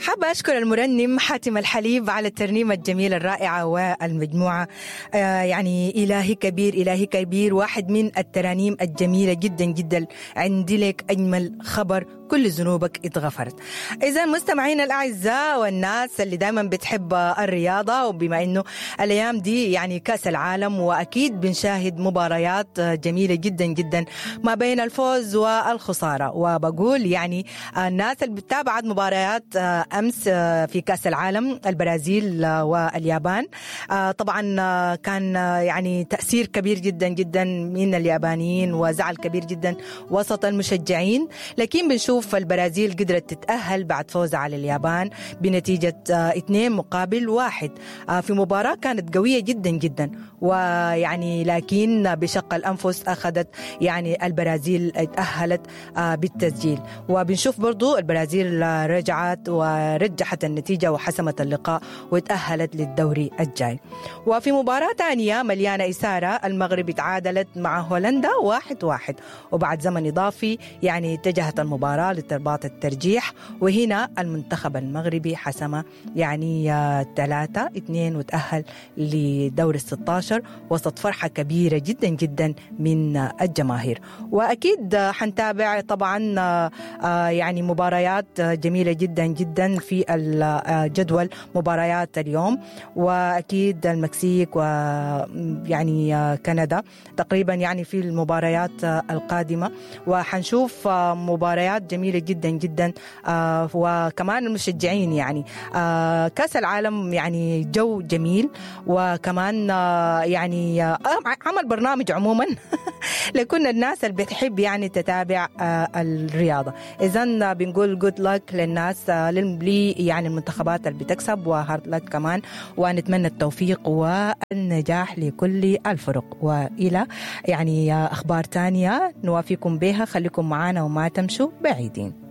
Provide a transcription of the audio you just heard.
حابة أشكر المرنم حاتم الحليب على الترنيمة الجميلة الرائعة والمجموعة، يعني إلهي كبير إلهي كبير، واحد من الترانيم الجميلة جدا جدا. عندي لك أجمل خبر، كل ذنوبك اتغفرت. إذا مستمعينا الأعزاء والناس اللي دائما بتحب الرياضة، وبما إنه الأيام دي يعني كأس العالم، وأكيد بنشاهد مباريات جميلة جدا جدا ما بين الفوز والخسارة، وبقول يعني الناس اللي بتابعت مباريات أمس في كأس العالم البرازيل واليابان، طبعا كان يعني تأثير كبير جدا جدا من اليابانيين وزعل كبير جدا وسط المشجعين، لكن بنشوف البرازيل قدرت تتأهل بعد فوزها على اليابان بنتيجة 2-1 في مباراة كانت قوية جدا جدا، ويعني لكن بشق الأنفس أخذت يعني البرازيل تأهلت بالتسجيل. وبنشوف برضو البرازيل رجعت ورجحت النتيجة وحسمت اللقاء وتأهلت للدوري الجاي. وفي مباراة ثانية مليانة إثارة، المغرب تعادلت مع هولندا 1-1، وبعد زمن إضافي يعني اتجهت المباراة لترباط الترجيح، وهنا المنتخب المغربي حسم يعني 3-2 وتأهل لدور 16 وسط فرحة كبيرة جدا جدا من الجماهير. وأكيد حنتابع طبعا يعني مباريات جميلة جدا جدا في الجدول مباريات اليوم، وأكيد المكسيك ويعني كندا تقريبا يعني في المباريات القادمة، وحنشوف مباريات جميلة جدا جدا، وكمان المشجعين يعني كأس العالم يعني جو جميل، وكمان يعني عمل برنامج عموما لكل الناس اللي بتحب يعني تتابع الرياضة. إذن بنقول good luck للناس يعني المنتخبات اللي بتكسب، و hard luck كمان، ونتمنى التوفيق والنجاح لكل الفرق. وإلى يعني أخبار تانية نوافيكم بها، خليكم معانا وما تمشوا بعيدين.